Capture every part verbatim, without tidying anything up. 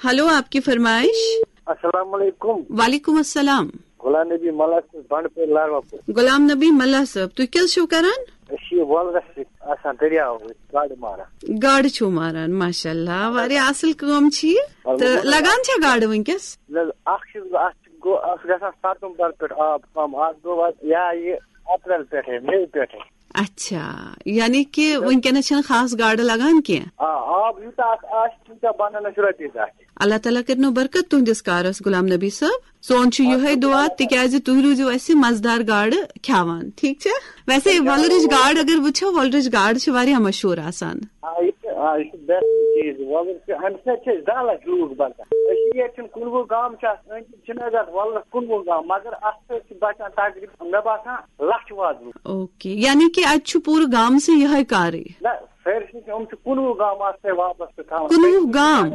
Hello, آپ کی فرمائش۔ السلام علیکم۔ وعلیکم السلام۔ غلام نبی ملا چھُس، بنڈپور لاروا پور۔ غلام نبی ملا صٲب، تُہۍ کیٛاہ حظ چھِو کران؟ أسۍ چھِ یہِ وۄلرَس سۭتۍ آسان، دٔریاو أسۍ گاڈٕ ماران۔ گاڈٕ چھِو ماران، ماشاء اللہ، واریاہ اَصٕل کٲم چھِ یہِ۔ تہٕ لگان چھا گاڈٕ وٕنکیٚس؟ نہ حظ، اَکھ چھُس بہٕ، اَتھ چھُ گوٚو، اَتھ گژھان ستمبر پٮ۪ٹھ آب کم، اَتھ گوٚو اَتھ یا یہِ اپریل پٮ۪ٹھے، مے پٮ۪ٹھے۔ اچھا، یعنی کہِ وٕنکیٚنَس چھَنہٕ خاص گاڈٕ لگان کینٛہہ۔ آ، آب یوٗتاہ اَتھ آسہِ، تیٖتیٛاہ بَنَن اَسہِ رۄپیہِ دَہ تہِ۔ اللہ تعالیٰ کٔرِنو برکت تُہنٛدِس کارَس، غلام نبی صٲب۔ سون چھُ یِہوٚے دُعا، تِکیٛازِ تُہۍ روٗزِو اَسہِ مَزٕدار گاڈٕ کھٮ۪وان، ٹھیٖک چھا؟ ویسے وۄلرٕچ گاڈ اگر وٕچھو، وۄلرٕچ گاڈ چھِ واریاہ مشہوٗر آسان۔ آ، یہِ چھِ، آ، یہِ چھِ بہتریٖن چیٖز۔ وۄلُر چھِ، اَمہِ سۭتۍ چھِ أسۍ دَہ لَچھ لوٗکھ بَچان۔ أسۍ چھِ ییٚتہِ چھِنہٕ کُنوُہ گام چھِ اَتھ أنٛدۍ، چھِنہٕ اَسہِ اَتھ وۄلرَس کُنوُہ گام، مگر اَتھ سۭتۍ چھِ بَچان تقریٖباً، مےٚ باسان، لَچھ واد لوٗکھ۔ اوکے، یعنی کہِ اَتہِ چھُ پوٗرٕ گامسٕے یِہوٚے کارٕے؟ نہ، سٲرسٕے چھِ، یِم چھِ کُنوُہ گام اَتھ سۭتۍ واپَس تہٕ تھاوان۔ کُنوُہ گام؟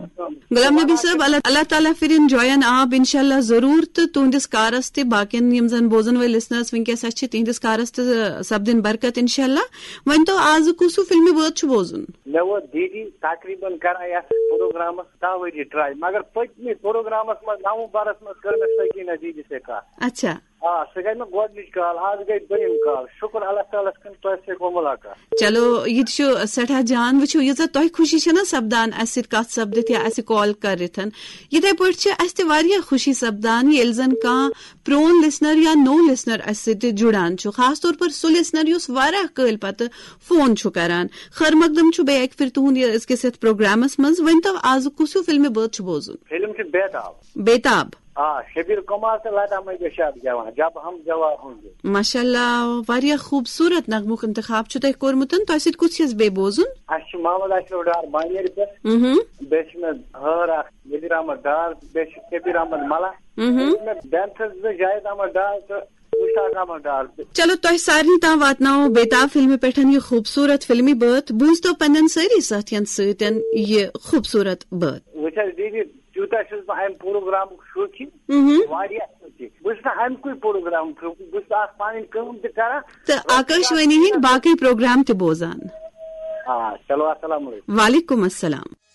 غلام نبی صٲب، اللہ، اللہ تعالیٰ فِرِن جوین آب انشاءاللہ ضروٗر، تہٕ تُہنٛدِس کارَس تہِ، باقین یِم زَن بوزَن وٲلۍ لسنرس وٕنکیٚس اَسہِ چھِ، تِہنٛدِس کارَس تہِ سپدِن برکت انشاءاللہ۔ ؤنۍ تو، آز کُس ہیوٗ فِلمہِ بٲتھ چھُ بوزُن؟ مےٚ ووت دیٖدی تقریٖباً کران یَتھ پروگرامَس دَہ ؤری ٹراے، مگر پٔتمہِ پروگرامَس منٛز نومبرَس منٛز کٔر مےٚ سکیٖنہ دیٖدی سۭتۍ کَتھ۔ اچھا۔ آ، سۄ گٔے مےٚ گۄڈٕنِچ کال، آز گٔے دوٚیِم کال۔ شُکُر اللہ تعالیٰ ہَس کُن، تۄہہِ سۭتۍ گوٚو مُلاقات۔ چلو، یہِ تہِ چھُ سٮ۪ٹھاہ جان۔ وٕچھِو، ییٖژاہ تۄہہِ خوشی چھَنہ سپدان اَسہِ سۭتۍ کَتھ سپدِتھ یا اَسہِ کال کٔرِتھ، یِتھَے پٲٹھۍ چھِ اَسہِ تہِ واریاہ خوشی سپدان، ییٚلہِ زَن کانٛہہ پرون لسنر یا نوٚو لسنر اَسہِ سۭتۍ جُڑان چھُ، خاص طور پر سُہ لسنر یُس واریاہ کٲلۍ پتہٕ فون چھُ کران۔ خٲر مقدم چھُ بیٚیہِ اَکہِ پھِرِ تُہُنٛد یہِ أزکِس یَتھ پروگرامس منٛز۔ ؤنۍ تو، آزٕ کُس ہیوٗ فِلمہِ بٲتھ چھُ بوزُن؟ فِلم چھِ بیتاب۔ بیتاب۔ آ، شبیر کمار تہٕ لتا منگیشکر گٮ۪وان، جب ہم جوان ہوں گے۔ ماشاء اللہ، واریاہ خوٗبصوٗرت نغمُک انتخاب چھُ تۄہہِ کوٚرمُت۔ تۄہہِ سۭتۍ کُس چھُ اَسہِ بیٚیہِ بوزُن؟ اَسہِ چھُ محمد اشرف ڈار بانیرِ پٮ۪ٹھ۔ مہم۔ بیٚیہِ چھِ مےٚ ہٲر اکھ نذیر احمد ڈار، بیٚیہِ چھُ کبیر احمد ملا۔ مہم۔ بیٚیہِ چھِ مےٚ بینتھس زٕ جاوید احمد ڈار تہٕ مشتاق احمد ڈار۔ چلو، تۄہہِ سارنٕے تام واتناوو بیتاب فِلمہِ پٮ۪ٹھ یہِ خوٗبصوٗرت فِلمی بٲتھ۔ بوٗزتو پننٮ۪ن سٲری سٲتھین سۭتۍ یہِ خوٗبصوٗرت بٲتھ۔ وٕچھ حظ دیدی، تیوٗتاہ چھُس بہٕ اَمہِ پروگرامُک شوقیٖن، مہم۔ واریاہ شوقیٖن۔ بہٕ چھُس نہٕ اَمہِ کُے پروگرام شوقیٖن، بہٕ چھُس اَتھ پَنٕنۍ کٲم تہِ کران۔ تہٕ آکاشوانی ہٕنٛدۍ باقٕے پروگرام تہِ بوزان۔ آ، چلو، السلام علیکم۔ وعلیکم السلام۔